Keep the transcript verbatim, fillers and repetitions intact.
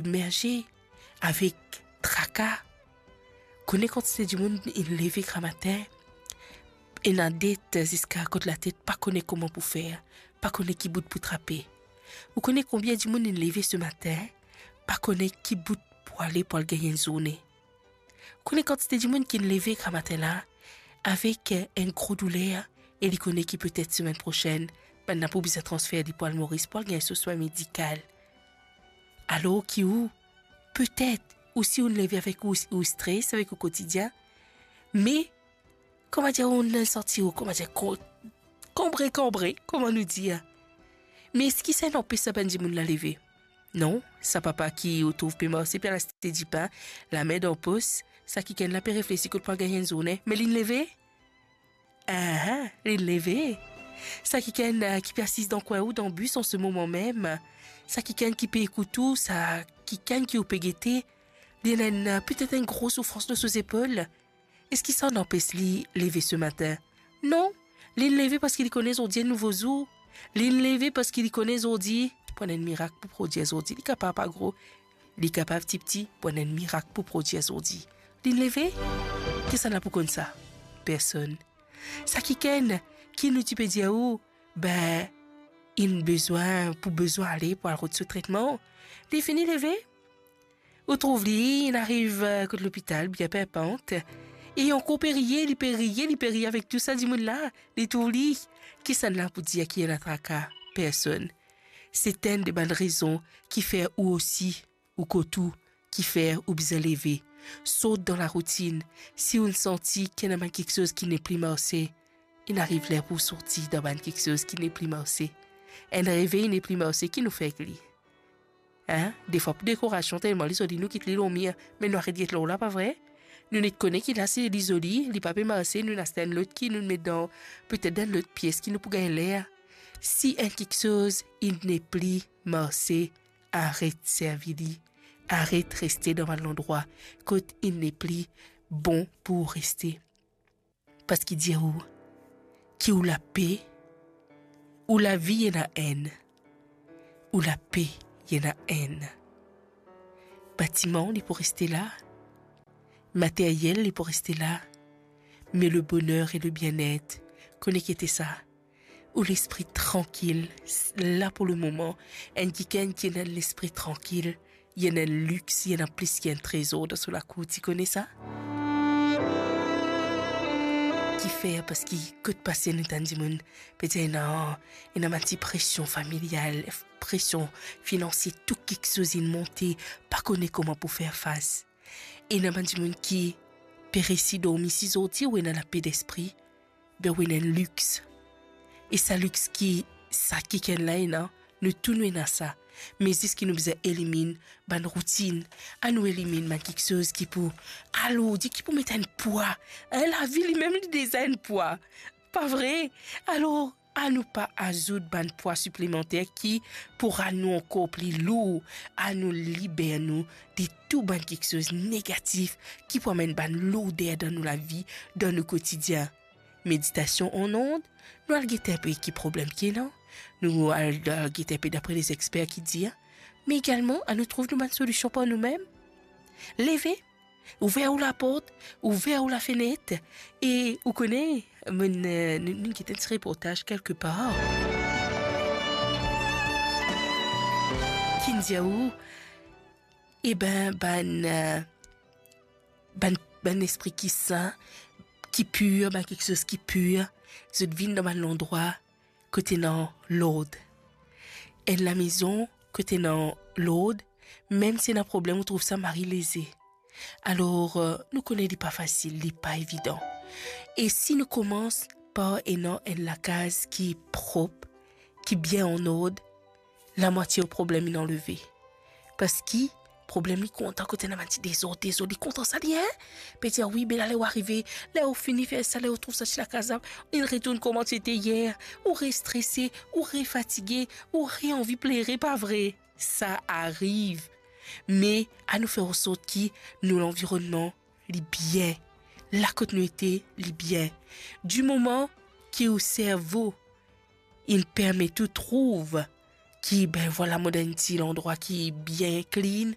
submerge avek traka. Kone kantite dimoun inn leve gramatin, ena det ziska kot latet, pa kone kouma pou fer, pa kone ki bout pou trape. Ou kone konbien dimoun inn leve se matin, pa kone ki bout pou ale pou al gagn enn zourne. Ou kone kantite dimoun ki inn leve gramatin la avek, eh, enn gro douler e li kone ki petet semenn prosenn, bann la pou bizin transfer li pou al Moris pou al gagn so swin medikal. Alor ki ou, petet, ou si ou leve avek ou, ou stres avek ou kotidien, me, kouma dir, ou santi ou, kouma dir, ko-, kanbre, kanbre, kouma nou dir. Me eski sa inn anpes sa bann dimoun la leve? Non, sa papa ki ou trouv pe marse pe al aste dipin, lame dan pos, sa kikenn la pe reflesi kot pou al gagn enn zourne, me linn leve? Ah, linn leve. Sa kikenn, eh, ki pe asiz dan kwin ou dan bis an se moman mem, sa kikenn ki pe ekout ou, sa kikenn ki ou pe gete, li ena enn, eh, petet enn gro soufrans lor so zepol. Eski sa inn anpes li leve se matin? Non, linn leve parski li kone zordi enn nouvo zour. Linn leve parski li kone zordi pou enn mirak pou prodir zordi. Li kapav pa gro, li kapav tipti, pou enn mirak pou prodir zordi. Linn leve? Kisannla pou konn sa? Personn. Sa kikenn ki nou ti pe dir ou, be, inn bizin, pou bizin ale pou al rod so tretman, li fini leve. Ou trouv li, inn ariv, eh, kot lopital, bien pinpant. E ankor pe riye, li pe riye, li pe riye avek tou sa dimoun la. Li trouv li, kisannla pou dir ki ena traka? Personn. Se enn de bann rezon ki fer ou osi, ou kot ou, ki fer ou bizin leve. Sort dan laroutinn. Si ou santi ki ena bann kiksoz ki nepli marse, inn ariv ler pou sorti dan bann kiksoz ki nepli marse. Enn revey nepli marse, ki nou fer ek li? Hein? Defwa pou dekorasion, telman li zoli, nou kit li lor mir, me nou aret get lor la, pa vre? Nou net kone ki la, si li zoli, li pa pe marse, nou aste enn lot ki nou met dan, petet dan enn lot pies ki nou pou gagn ler. Si enn kiksoz inn nepli marse, aret servi li, aret reste dan bann landrwa kot inn nepli bon pou reste. Parski dir ou ki ou lape, ou lavi ena enn, ou lape ena enn. Batiman li pou reste la, materyel li pou reste la, me le boner e le bienet, kone ki ete sa? Ou lespri trankil, s-, la pou le moman, enn kikenn ki ena lespri trankil, li ena enn lix, li ena plis ki enn trezor dan so lakour, ti kone sa? Kifer? Parski kot pase nou tann dimoun pe dir ena, ena bann ti presion familial, presion finansie, tou kiksoz inn monte, pa kone kouma pou fer fas. Ena bann dimoun ki pe resi dormi, si zordi ou ena lape lespri, be ou ena enn lix. E sa lix ki sa kikenn la ena, nou tou nou ena sa. Me zis ki nou bizin eliminn bann routinn, anou eliminn bann kiksoz ki pou alourdi, ki pou met enn pwa. Hein, lavi limem li deza enn pwa. Pa vre? Alor, anou pa azout bann pwa siplemanter ki pou rann nou ankor pli lour. Anou liber nou de tou bann kiksoz negatif ki pou amenn bann lourder dan nou lavi, dan nou kotidien. Meditasion an ord, nou al gete enpe ki problem ki ena, nou al, al gete enpe dapre lezexper ki dir, me egalman anou trouv nou bann solision par noumem. Leve, ouver ou laport, ouver ou lafenet, e ou kone, monn, eh, nou, nou get enn ti reportaz kelke par. Ki'nn dir ou, e ben, bann, eh, bann, bann lespri ki sin, ki pir, bann kiksoz ki pir, zot vinn dan bann landrwa kot ena lord. Enn lamezon kot ena lord, mem si ena problem, ou trouv sa mari leze. Alor, eh, nou kone li pa fasil, li pa evidan. E si nou koumans par ena enn lakaz ki prop, ki bien an ord, lamwatie ou problem inn anleve. Parski problem li kontan kot ena bann ti dezord, dezord, li kontan sa li, hein? Pe dir, wi, be la, ler ou arive, ler ou fini fer sa, ler ou trouv sa ti lakaz la, inn retourn kouma ti ete yer, ou re strese, ou re fatige, ou re anvi plere, pa vre? Sa ariv. Me anou fer ansort ki nou lanvironnman li bien. La kot nou ete, li bien. Dimoman ki ou servo inn permet ou trouv ki, ben, vwala, mo dan enn ti landrwa ki bien clean,